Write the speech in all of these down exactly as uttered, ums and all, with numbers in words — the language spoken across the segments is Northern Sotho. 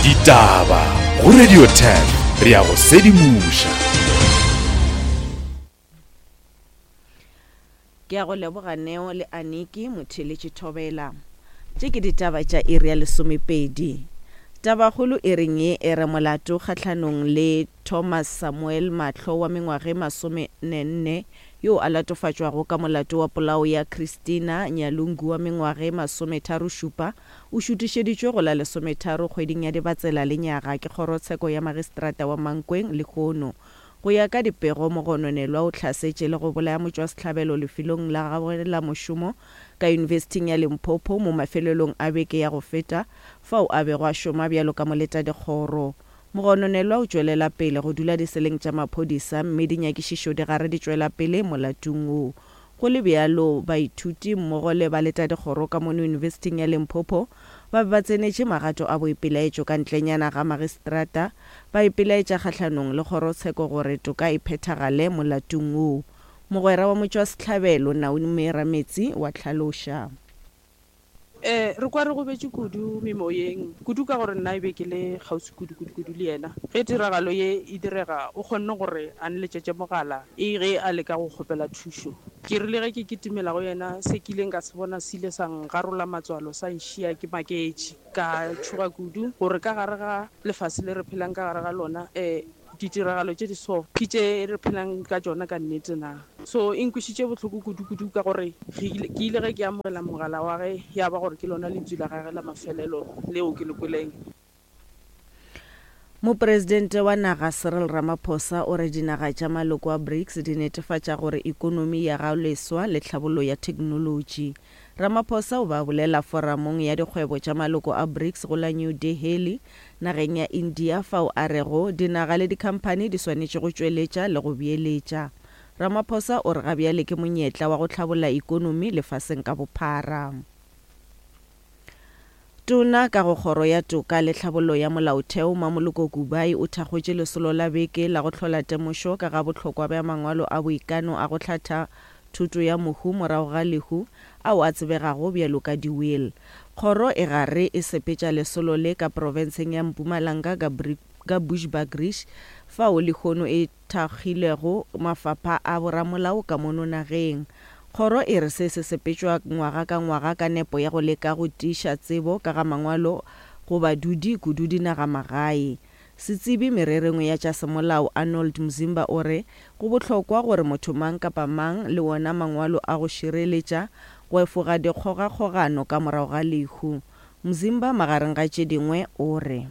Ditaba go Radio ten re a go sedimoša. Ke a go leboga Neo le Aniki Motheeletši Thobela. Tše ke ditaba tša iri ya lesomepedi. Tabakgolo e reng ye e re molato kgahlanong le Thomas Samuel Mahlo wa mengwaga e masomenne yo a latofatšwago ka molato wa polao ya Christina Nyalungu wa mengwaga e masometharo-šupa o šutišeditšwe go la lesometharo kgweding ya Dibatsela lenyaga ke kgorotsheko ya magistrata wa Mankweng lehono. Go ya ka dipego, mogononelwa o hlasetše le go bolaya motšwasehlabelo lefelong la gagwe la mošomo ka Yunibesithing ya Limpopo mo mafelelong a beke ya go feta fao a bego a šoma bjalo ka moletadikgoro. Mogononelwa o tšwelela pele go dula diseleng tša maphodisa mme dinyakišišo di gare di tšwela pele molatong wo. Go le bjalo, baithuti mmogo le baletadikgoro ka mono Yunibesithing ya Limpopo ba be ba tsenetše magato a boipelaetšo ka ntlenyana ga magistrata ba ipelaetša kgahlanong le kgorotsheko gore toka e phethagale molatong wo. Mogwera wa motšwasehlabelo Naomi Rametsi wa hlaloša. Eh, re kwa re gobetše kudu memoyeng, kudu ka gore nna e be ke le kgauswi kudu kudu kudu le yena. Ge tiragalo ye e direga, o kgonne gore a nletšetše mogala e ge a leka go kgopela thušo. Ke rile ge ke kitimela go yena, se ke ileng ka se bona se ile sa ngarola matswalo, sa nšia ke maketše. Ka tšhoga kudu gore ka gare ga lefase le re phelang ka gare ga lona, eh, ditiragalo tše di so ke tše re phelang ka tšona ka nnete na. So e nkwišitše bohloko kudu-kudu ka gore ke ile ge ke amogela mogala wa ge ya ba gore ke lona lentswe la gagwe la mafelelo leo ke le kweleng. Mopresidente wa naga Cyril Ramaphosa o re dinaga tša maloko a BRICS di netefatša gore ikonomi ya ga leswa le tlhabollo ya theknolotši. Ramaphosa o ba bolela foramong ya dikgwebo tša maloko a BRICS go la New Delhi nageng ya India fao a rego dinaga le dikhamphani di swanetše go tšweletša le go beeletša. Ramaphosa o re ga bjale ke monyetla wa go tlhabolla ikonomi lefaseng ka bophara. Tona ka go kgoro ya toka le tlhabollo ya molaotheo Mamoloko Kubayi o thakgotše lesolo la beke la go hlola temošo ka ga bohlokwa bja mangwalo a boikano a go hlatha thuto ya mohu morago ga lehu ao a tsebegago bjalo ka di-will. Kgoro e gare e sepetša lesolo le ka profenseng ya Mpumalanga ka, ka Bushbuckridge fao lehono e thakgilego mafapha a boramolao ka mono nageng. Kgoro e re se se sepetšwa ngwaga ka ngwaga ka nepo ya go leka go tiiša tsebo ka ga mangwalo go badudi kudu dinagamagae. Setsebi mererong ya tša semolao Arnold Mzimba o re go bohlokwa gore motho mang kapa mang le wona mangwalo a go šireletša go efoga dikgogakgogano ka morago ga lehu. Mzimba magareng ga tše dingwe o re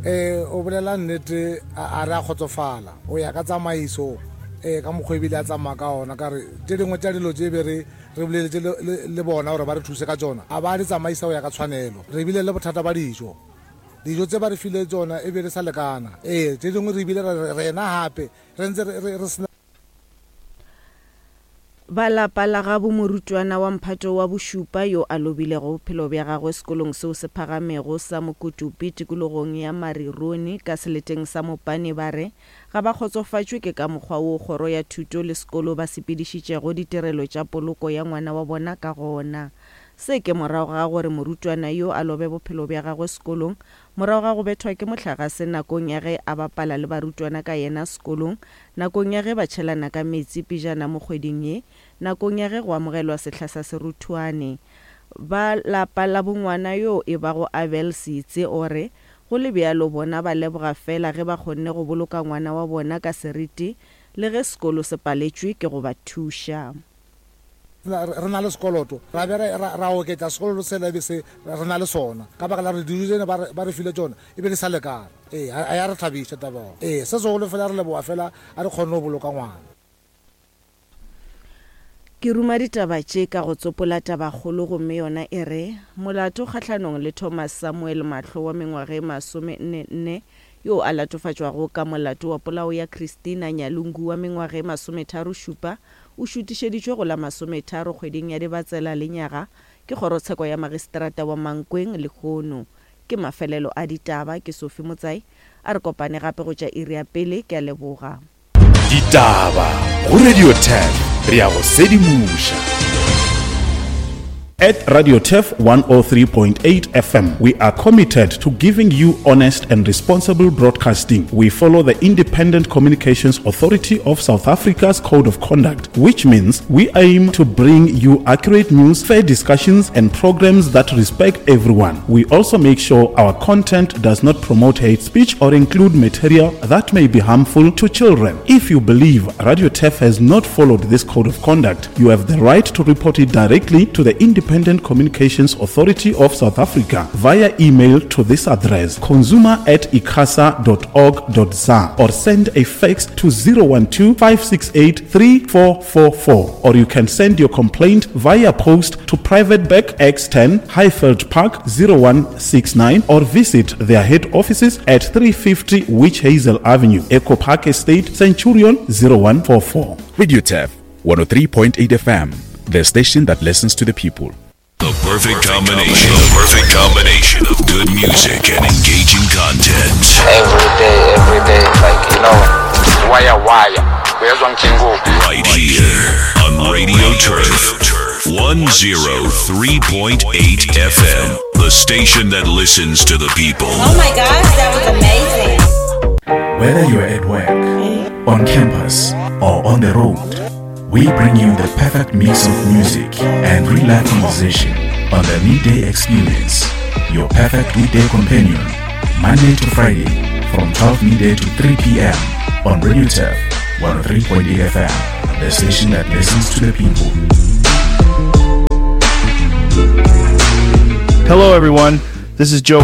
Eh, o bolela nnete a re a kgotsofala o ya ka tsamaiso eh ka mokgwa ebile a tsamaya ka ona ka re tše dingwe tša dilo tše be re re boleletše le bona gore ba re thuse ka tsona a ba di tsamaisa go ya ka tshwanelo. Re bile le bothata ba dijo, dijo tse ba re file tsona e be di sa lekana. Ee, tše dingwe re bile rena gape re ntse re sena. Ba lapa la gabo morutwana wa mphato wa bošupa yo a lobilego bophelo bja gagwe sekolong seo se phagamego sa Mokotopi tikologong ya Marironi ka seleteng sa Mopane ba re ga ba kgotsofatšwe ke ka mokgwa wo kgoro ya thuto le sekolo ba sepedišitšego ditirelo tša poloko ya ngwana wa bona ka gona. Se ke morago ga gore morutwana yo a lobe bophelo bja gagwe sekolong morago ga go bethwa ke mohlagase nakong ya ge a bapala le barutwana ka yena sekolong nakong ya ge ba tšhelana ka metsi pejana mo kgweding ye nakong ya ge go amogelwa sehla sa seruthwane. Ba lapa la bongwana yo e bago Abel Seitse o re go le bjalo bona ba leboga fela ge ba kgonne go boloka ngwana wa bona ka seriti le ge sekolo se paletšwe ke go ba thuša. Re na le sekoloto ra be ra oketša sekoloto sela e be se re na le sona ka baka la re dijo tsene ba re file tsona e be di sa lekana. Ee, a ya re thabiša taba. Ee, se segolo fela re leboga fela a re kgonne go boloka ngwana. Ke ruma ditaba tše ka go tsopola tabakgolo gomme yona e re molato kgahlanong le Thomas Samuel Mahlo wa mengwaga e masome nne nne yo a latofatšwago ka molato wa polao ya Christina Nyalungu wa mengwaga e masometharo šupa o šutišeditšwe go la masometharo kgweding ya Dibatsela lenyaga ke kgorotsheko ya magistrata wa Mankweng lehono. Ke mafelelo a ditaba ke Sophie Motsai a re kopane gape go tša iri ya pele. Ke a leboga. Ditaba go Radio ten re a go sedimoša. At Radio Turf one oh three point eight F M, we are committed to giving you honest and responsible broadcasting. We follow the Independent Communications Authority of South Africa's Code of Conduct, which means we aim to bring you accurate news, fair discussions, and programs that respect everyone. We also make sure our content does not promote hate speech or include material that may be harmful to children. If you believe Radio Turf has not followed this Code of Conduct, you have the right to report it directly to the Independent Communications Authority of South Africa via email to this address, consumer at icasa dot org dot za, or send a fax to zero one two, five six eight, three four four four, or you can send your complaint via post to Private Bag X ten, Highveld Park zero one six nine, or visit their head offices at three fifty Witch Hazel Avenue, Echo Park Estate, Centurion zero one four four. Radio Turf one oh three point eight F M, the station that listens to the people. The perfect combination. The perfect combination of good music and engaging content. Every day, every day, like, you know, wire, wire. Right here on Radio Turf, one oh three point eight F M, the station that listens to the people. Oh my gosh, that was amazing. Whether you're at work, on campus, or on the road, we bring you the perfect mix of music and real-life conversation on the Midday Experience, your perfect weekday companion, Monday to Friday from twelve midday to three p m on Radio Turf one oh three point eight F M, the station that listens to the people. Hello everyone, this is Joe